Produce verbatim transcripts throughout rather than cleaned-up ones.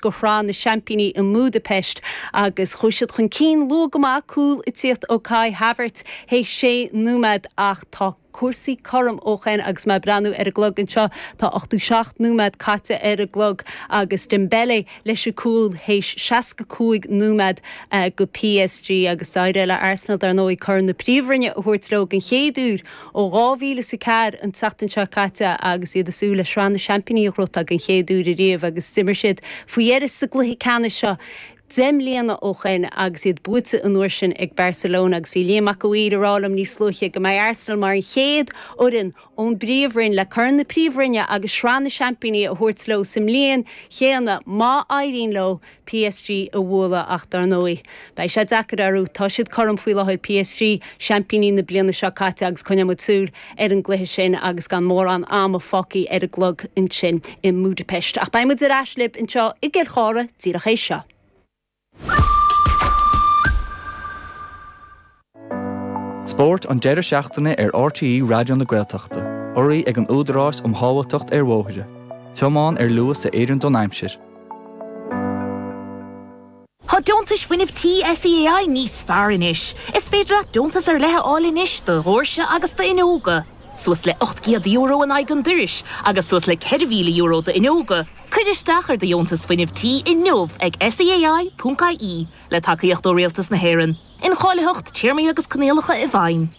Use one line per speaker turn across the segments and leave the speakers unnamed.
go Sraith na Seaimpíní i mBudapest agus chuaigh siad chun cinn luath go maith cúl ag tíocht ó Kai Havertz théis sé nóiméad ach tá cúrsaí cothrom ó shin agus mé ag breathnú ar an gclog anseo tá ochtó seacht nóiméad caite ar an gclog agus Dembele leis an cúl théis seasca cúig nóiméad go PSG agus d'éirigh le Arsenal dar ndóigh Corn na Príomhroinne a thabhairt leo den chéad uair ó dhá mhíle is a ceathair an tseachtain seo caite agus iad ag súil le Sraith na Seaimpíní a ghnóthachtáil den chéad uair ariamh agus d'imir siad faoi dheireadh sa gcluiche ceannais seo deich mbliana ó shin agus iad buaite an uair sin ag Barcelona agus bhí Liam Mac a' Mhaoir ag rá liom níos luaithe go mbeidh Arsenal mar an chéad fhoireann ón bPríomhroinn le Corn na Príomhroinne agus Sraith na Seaimpíní a thabhairt leo sa mbliain chéanna má éiríonn leo PSG a bhualadh ach dar ndóigh beidh sé deacair orthu tá siad cothrom faoi láthair PSG seaimpíní na bliana seo caite agus coinneoidh muid súil ar an gcluiche sin agus gan mórán ama fágtha ar an gclog ansin i mBudapest. Ach beidh muid ar ais libh anseo i gCill Chartha díreach théis seo.
Spórt an deireadh seachtaine ar RTÉ Raidió na Gaeltachta, urraithe ag an Údarás um Shábháilteacht ar Bhóithre. Tiomáin ar luas a oireann don aimsir.
Tá deontais fuinnimh tí SEAI níos fearr anois. Is féidir leat deontas ar leith a fháil anois do dhoirse agus d'fhuinneoga. Suas le ocht gcéad euro in aghaidh an dorais agus suas le ceithre mhíle euro d'fhuinneoga. Cuir isteach ar do dheontas fuinnimh tí inniu ag SEAI ponc IE le tacaíocht ó Rialtas na hÉireann. Incháilitheacht, téarmaí agus coinníollacha i bhfeidhm.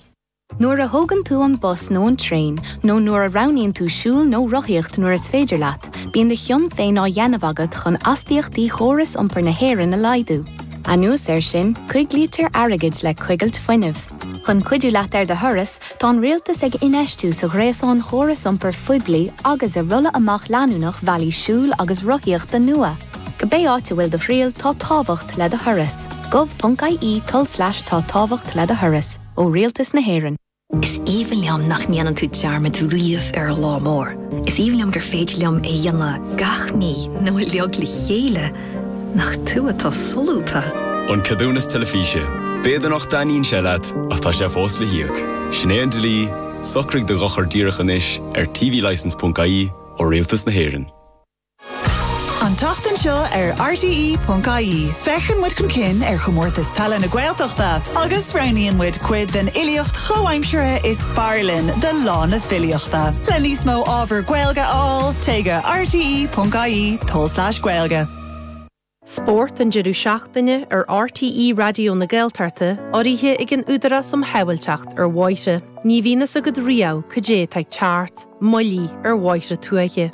Nuair a thógann tú an bus nó an traein, nó nuair a roghnaíonn tú siúl nó rothaíocht nuair is féidir leat, bíonn do chion féin á dhéanamh agat chun astaíochtaí chóras iompair na hÉireann a laghdú. Anuas air sin, coiglítear airgead le coigilt fuinnimh. Chun cuidiú leat ar do thuras, tá an rialtas ag infheistiú sa ghréasán chóras iompair phoiblí agus i rolladh amach leanúnach bhealaí siúil agus rothaíochta nua. Cibé áit a bhfuil do thriall, tá tábhacht le do thuras. gov.ie tulslais tá tábhacht le do thuras ó Rialtas na hÉireann.
Is aoibhinn liom nach ndéanann tú dearmad riamh ar an lá mór. Is aoibhinn liom gur féidir liom é a dhéanamh gach mí nó uilig le chéile. Nach tú atá solúbtha.
An ceadúnas teilifíse. B'fhéidir nach dtaitníonn sé leat ach tá sé fós le híoc. Sin é an dlí, socraigh do dhochar díreach anois ar tvlicence.ie ó Rialtas na hÉireann.
An tseachtain seo ar RTE.ie. Féachann muid chun cinn ar chomórtas peile na Gaeltachta agus roghnaíonn muid cuid den fhilíocht chomhaimseartha is fearr linn do lá na filíochta. Le níos mó ábhar Gaeilge a fháil, téigh go RTE.ie tulslais Gaeilge.
Spórt an deireadh seachtaine ar RTE Raidió na Gaeltachta urraithe ag an Údarás um Shábháilteacht ar Bhóithre. Ní bhíonn a fhios agat riamh cad é atá ag teacht, moilligh ar bhóithre tuaithe.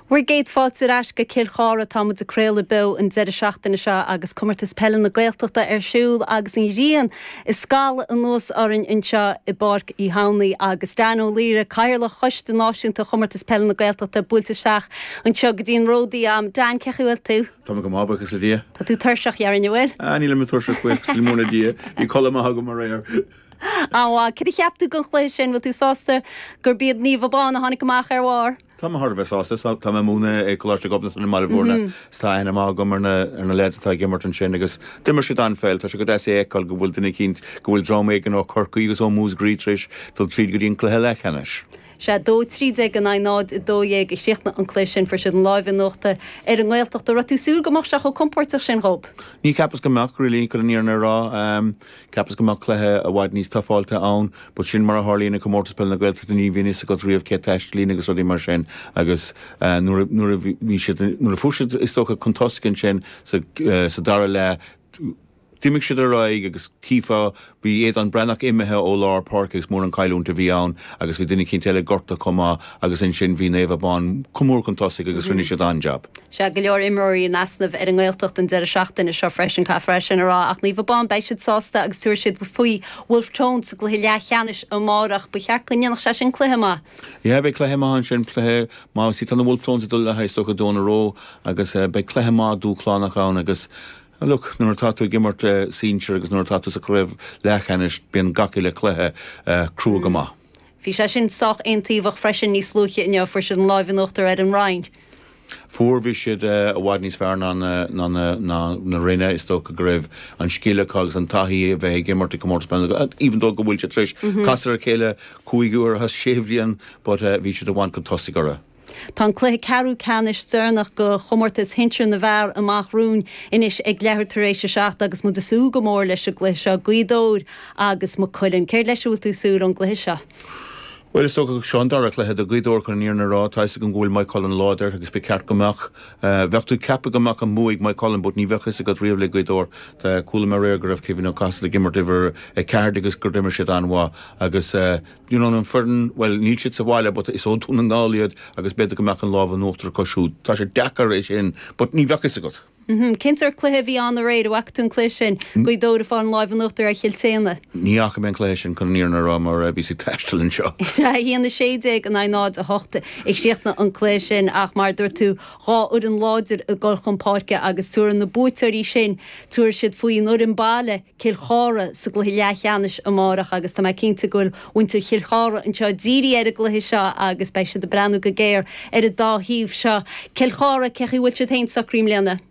Bhur gcéad fáilte ar ais go Cill Chartha tá muid ag craoladh beo an deireadh seachtaine seo agus Comórtas Peile na Gaeltachta ar siúl agus an ghrian ag scalladh anuas orainn anseo i bPáirc Uí Hamhnaigh agus Dan Ó Laoire, Cathaoirleach Choiste Náisiúnta Chomórtas Peile na Gaeltachta buailte isteach anseo go dtí an ródaí am. Dan, cén chaoi a bhfuil tú?
Tá mé go maith, buíochas le Dia.
Tá tú tuirseach, déarfainn, an bhfuil?
Ah, nílim tuirseach, buíochas le mór le Dia. Bhí codladh maith agam aréir.
An-mhaith. Cad a cheap tú den chluiche sin? Bhfuil tú sásta gurb iad Naomh Abán a tháinig amach ar bharr?
Tá mé thar a bheith sásta. Tá mé ag múineadh i Coláiste Ghobnatan i mBaile Bhúirne. Is tá aithne maith agam ar na ar na lads atá ag imirt ansin agus d'imir siad an-pheil. Tá sé go deas é a fheiceáil go bhfuil duine eicínt, go bhfuil dream éigin ó Chorcaigh agus ó Mhúscraí tar éis dul tríd go dtí an cluiche leathcheannais.
Sea, dó trí déag in aghaidh náid a dó dhéag a chríochnaigh an cluiche sin. Fuair siad an láimh in uachtar ar an nGaeltacht. An raibh tú ag súil go mbeadh sé chomh compóirteach sin dhób?
Ní cheapas go mbeadh, really, chun an fhírinne a rá. Cheapas go mbeadh cluiche i bhfad níos tafáilte ann, but sin mar a tharlaíonn i Comórtas Peile na Gaeltachta, ní bhíonn fhios agat riamh cé taistealaíonn agus rudaí mar sin agus nuair a nuair a bhí siad nuair a fuair siad is dócha chun tosaigh ansin sa sa dara leath, D'imigh siad ar aghaidh agus chífeá, bhí Aodán Breathnach imithe ó lár páirce agus mór an chailliúint a bhí ann agus bhí duine eicínt eile gortaithe chomh maith agus ansin bhí Naomh Abán chomh mór chun tosaigh agus rinne siad an-jab.
Sea, go leor imreoirí in easnamh ar an nGaeltacht an deireadh seachtaine seo freisin, caithfear é sin a rá, ach Naomh Abán, beidh siad sásta agus tabharfaidh siad faoi Wolfe Tones sa gcluiche leathcheannais amárach. Ba cheart go ndéanfadh sé sin cluiche maith.
Yeah, beidh cluiche maith ansin, cluiche maith. See, tá na Wolfe Tones ag dul le haghaidh is dócha Donagh Rowe agus beidh cluiche maith dúshlánach ann agus Look, nuair atá tú ag imirt sinsir agus nuair atá tú sa chraobh leathcheannais, bíonn gach uile chluiche crua go maith.
Bhí sé sin sách aontaobhach freisin níos luaithe inniu, fuair siad an láimh in uachtar ar an Rinn.
Fuair bhí siad i bhfad níos fearr ná ná ná na Rinne is dócha go raibh an scil acu agus an taithí a bheith ag imirt i comórtas peile even though go bhfuil siad tar éis casadh ar a chéile cúig uair as sé bhliain but bhí siad i bhfad chun tosaigh orthu.
Tá an cluiche ceathrú ceannais deireanach de chomórtas shinsir na bhfear amach romhainn anois ag leathuair tar éis a seacht agus muid ag súil go mór leis an gcluiche seo Gaoth Dobhair agus Maigh Cuilinn. Céard leis a bhfuil tú ag súil ón gcluiche seo?
Bhuel is dócha seo an dara cluiche do Ghaoth Dobhair chun an fhírinne a rá, tá a fhios agam go bhfuil Maigh Cuilinn láidir agus ba cheart go mbeadh bheadh tú ag ceapadh go mbeadh an bua ag Maigh Cuilinn but ní bheadh fhios agat riamh le Gaoth Dobhair. Tá chuala mé aréir go raibh Kevin Ó Casaide ag imirt uimhir a ceathair agus gur d'imir siad an-mhaith agus you know an foireann bhuel níl siad sa bhaile but is ó Dhún na nGall iad agus b'fhéidir go mbeadh an lámh in uachtar acu siúd. Tá sé deacair é sin but ní bheadh fhios agat.
Mm-hmm. Cén sórt cluiche a bhí ann aréir, an bhfaca tú an cluiche sin Gaoth Dobhair ag fáil an lámh in uachtar ar Chill tSéadhna.
Ní fhaca mé an cluiche sin chun an fhírinne a rá mar bhí sí taisteal anseo.
Sé a haon a sé déag in aghaidh náid a hocht a chríochnaigh an cluiche sin ach mar dúirt tú dhá fhoireann láidir ag dul chun páirce agus tabharfaidh na buaiteoirí sin tabharfaidh siad faoin fhoireann baile Cill Chartha sa gcluiche leathcheannais amárach agus tá mé cinnte go bhfuil muintir Chill Chartha anseo dírithe ar an gcluiche seo agus beidh siad ag breathnú go géar ar an dá thaobh seo. Cill Chartha cén chaoi a bhfuil siad féin socraithe i mbliana.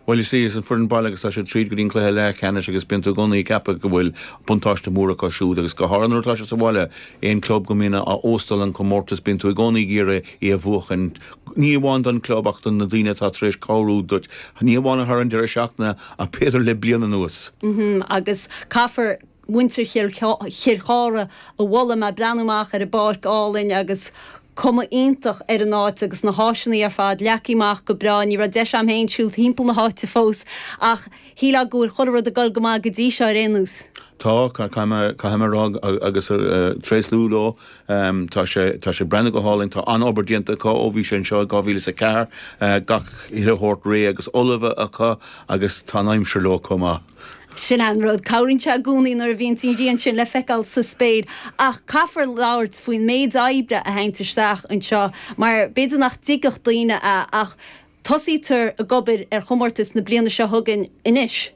Bhuel is is an foireann baile agus tá siad tríd go dtí an cluiche leathcheannais agus bíonn tú i gcónaí ag ceapadh go bhfuil buntáiste mór acu siúd agus go háirithe nuair atá siad sa bhaile aon club go mbíonn á óstáil an comórtas bíonn tú i gcónaí ag iarraidh é a bhuachan ní amháin don club ach don na daoine atá tar éis cabhrú duit ní amháin thar an deireadh seachtaine ach b'fhéidir le bliain anuas.
Mm -hmm, agus caithfear muintir Chill Chartha a mholadh mé breathnú amach ar an bpáirc álainn agus cuma iontach ar an áit agus na háiseanna ar fad leagtha amach go breá ní raibh deis agam féin siúl timpeall na háite fós ach shílfeá go bhfuil chuile rud ag dul go maith go dtí seo ar aon nós.
Tá caithfidh mé rá agus tréaslú leo tá sé tá sé breathnú go hálainn tá an-obair déanta acu ó bhí sé anseo dhá mhíle is a ceathair gach uile shórt réidh agus ullamh acu agus tá an aimsir leo chomh maith.
Sin an rud cabhraíonn sé i gcónaí nuair a bhíonn an ghrian sin le feiceáil sa spéir ach caithfear labhairt faoin méid oibre a théann isteach anseo mar b'fhéidir nach dtuigfeadh daoine é ach tosaítear ag obair ar chomórtas na bliana seo chugainn anois.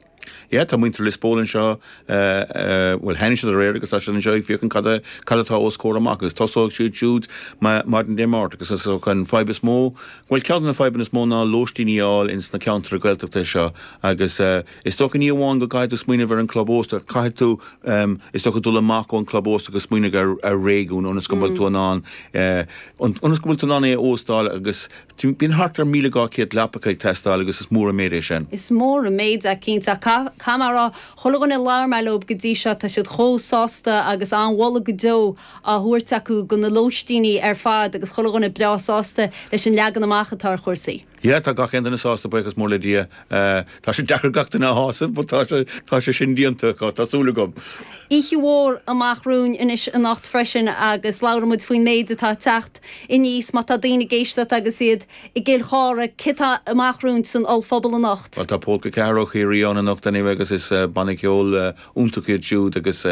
Yeah, tá muintir Lios Póil anseo bhuel tháinig siad aréir agus tá siad anseo ag féachaint cad cad atá os comhair amach agus tosóidh siad siúd maidin Dé Máirt agus is an fadhb is mó bhuel ceann de na fadhbanna is mó ná lóistíní a fháil ins na ceantair Gaeltachta seo agus is dócha ní amháin go gcaithfidh tú smaoineamh ar an club ósta caithfidh tú is dócha dul amach ón club ósta agus smaoineamh ar ar réigiún ionas go bhfuil tú in ann ionas go bhfuil tú in ann é a óstáil agus bíonn thart ar míle dhá chéad leapacha ag teastáil agus is mór an méid é sin.
Is mór an méid é cinnte caithfidh mé a rá chuile dhuine a labhair mé leo go dtí seo tá siad chomh sásta agus an-mholadh go deo á thabhairt acu do na lóistíní ar fad agus chuile dhuine breá sásta leis an leagan amach atá ar chúrsaí.
Yeah, tá gach aon duine sásta buíochas mór le Dia. Tá sé deacair gach duine a shásamh, but tá sé tá sé sin déanta acu, tá súil agam.
Oíche mhór amach romhainn anois anocht freisin agus labhraímid faoin méid atá ag teacht aníos má tá daoine ag éisteacht agus iad i gCill Chartha cad tá amach romhainn san ollphuball anocht.
Well tá Polca Ceathair ó Chiarraí ann anocht anyway agus is banna ceoil iontach iad siúd agus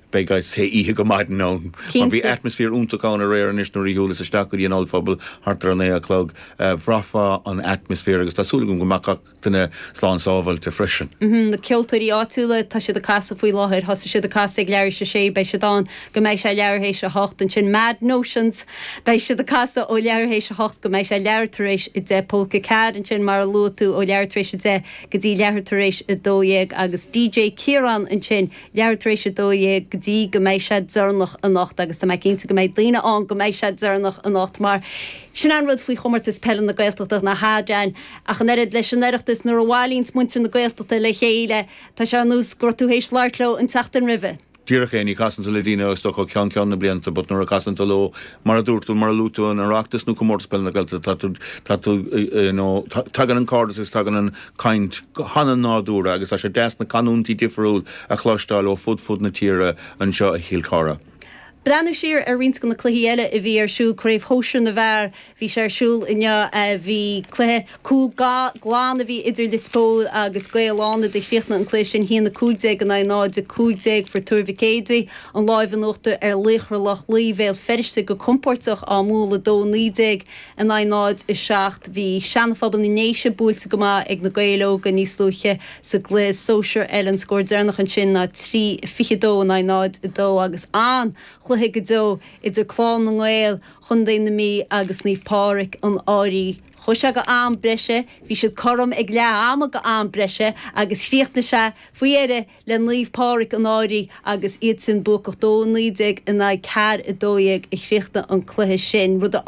beidh oíche go maidin ann. Mar bhí atmaisféar iontach ann aréir anois nuair a shiúlas isteach go dtí an ollphuball thart ar an naoi a chlog bhraithfeá an atmaisféar agus tá súil agam go mbeadh gach duine slán sábháilte freisin.
Na ceoltóirí áitiúla tá siad ag casadh faoi láthair, thosaigh siad ag casadh ag leathuair théis a sé, beidh siad ann go mbeidh sé leathuair théis a hocht ansin Mad Notions beidh siad ag casadh ó leathuair théis a hocht go mbeidh sé leathuair tar éis a deich Polca Ceathair ansin mar a luaigh tú ó leathuair tar éis a deich go dtí leathuair tar éis a dó dhéag agus DJ Ciarán ansin leathuair tar éis a dó dhéag go dtí go mbeidh sé deireanach anocht agus tá mé cinnte go mbeidh daoine ann go mbeidh sé deireanach anocht mar sin an rud faoi chomórtas peile na Gaeltachta na hAdreáin ach an oiread leis an Oireachtas nuair a bhailíonns muintir na Gaeltachta le chéile tá sé ar nós go raibh tú théis labhairt leo an tseachtain roimhe.
Díreach é ní chasann tú le daoine is dócha ceann ceann na blianta, but nuair a chasann tú leo mar a dúirt tú mar a luaigh tú an Oireachtas nó comórtas peile na Gaeltachta tá tú tá tú you know, tagann an cairdeas agus tagann an caint an-nádúrtha agus tá sé deas na canúintí difriúil a chloisteáil ó fud fud na tíre anseo i Chill Chartha.
Breathnú siar ar roinnt de na cluichí eile a bhí ar siúl craobh shóisir na bhfear bhí sé ar siúl inniu bhí cluiche cúl glan a bhí idir Lios Póil agus Gaeil Fhánada chríochnaigh an cluiche sin haon a cúig déag in aghaidh náid a cúig déag fuair Tuar Mhic Éadaigh an láimh in uachtar ar Laochra Loch Lao Bhéal Feirste go compordach á mbualadh dó naoi déag in aghaidh náid a seacht bhí Seanaphobal na nDéise buailte go maith ag na Gaeil Óga níos luaithe sa gcluiche sóisir eile an scór deireanach ansin ná trí fiche dó in aghaidh náid a dó agus an chluiche An-chluiche go deo idir Clann na nGael Chontae na Mí agus Naomh Pádraig an Fhairche. Chuaigh sé go am breise, bhí siad cothrom ag leath ama go am breise agus chríochnaigh sé faoi dheireadh le Naomh Pádraig an Fhairche agus iad sin buacach dó naoi déag in aghaidh ceathair a dó dhéag a chríochnaigh an cluiche sin, rud a